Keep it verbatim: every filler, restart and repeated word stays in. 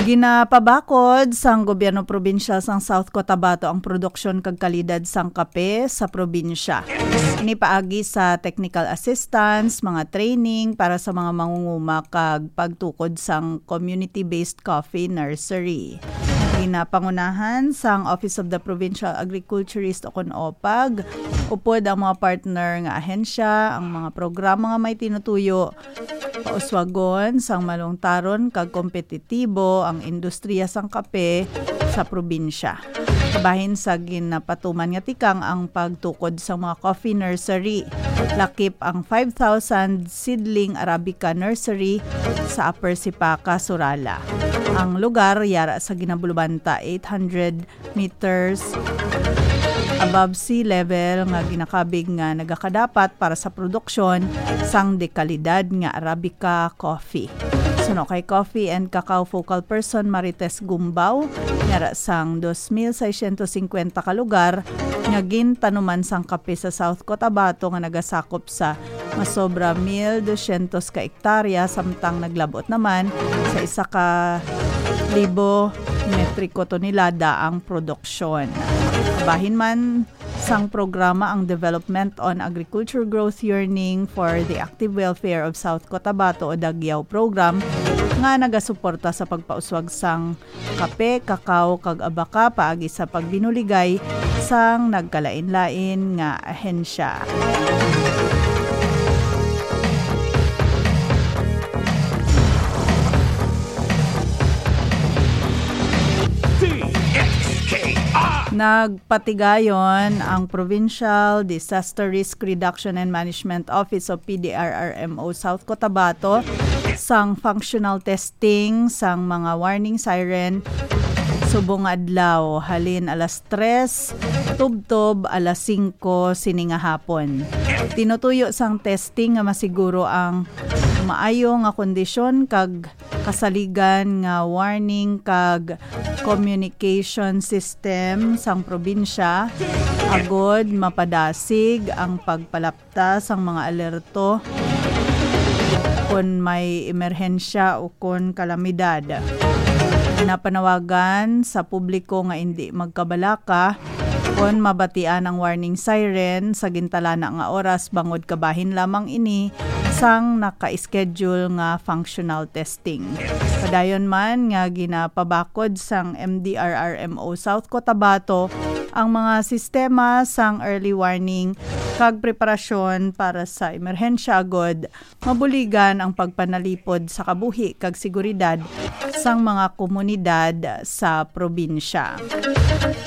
Ginapabakod sang gobyerno probinsyal sang South Cotabato ang produksyon kag kalidad sang kape sa probinsya. Ini paagi sa technical assistance, mga training para sa mga mangunguma kag pagtukod sang community-based coffee nursery. Ginapangunahan sang Office of the Provincial Agriculturist o kon opag, upod ang mga partner nga ahensya, ang mga programa nga may tinutuyo, pauswagon sang malungtaron kag kompetitibo ang industriya sang kape sa probinsya. Kabahin sa ginapatuman nga tikang ang pagtukod sang mga coffee nursery, lakip ang five thousand seedling Arabica nursery sa Upper Sipaka, Surala. Ang lugar yara sa ginabulubanta eight hundred meters above sea level nga ginakabig nga nagakadapat para sa produksyon sang dekalidad nga Arabica coffee. Suno kay Coffee and Cacao Focal Person Marites Gumbao, yara sang dos mil seiscientos cincuenta ka lugar nga gintanuman sang kape sa South Cotabato nga nagasakop sa masobra mil dosyentos ka hektarya, samtang naglabot naman sa isa ka libo metriko tonelada ang produksyon. Bahin man sang programa ang Development on Agriculture Growth Yearning for the Active Welfare of South Cotabato o Dagiao Program nga nagasuporta sa pagpauswag sang kape, kakao, kag abaka paagi sa pagbinuligay sang nagkalain-lain nga ahensya. Nagpatigayon ang Provincial Disaster Risk Reduction and Management Office o P D R R M O South Cotabato sang functional testing sang mga warning siren subong adlaw, halin alas tres tubtob alas singko sini nga hapon. Tinutuyo sang testing nga masiguro ang maayo nga kondisyon kag kasaligan nga warning kag communication system sang probinsya, agod mapadasig ang pagpalapta sang mga alerto kon may emerhensya o kon kalamidad. Napanawagan sa publiko nga indi magkabalaka kon mabatian ang warning siren sa gintalana nga oras, bangod kabahin lamang ini sang naka-schedule nga functional testing. Padayon man nga ginapabakod sang M D R R M O South Cotabato ang mga sistema sang early warning kag preparasyon para sa emerhensya, agod mabuligan ang pagpanalipod sa kabuhi kag seguridad sang mga komunidad sa probinsya.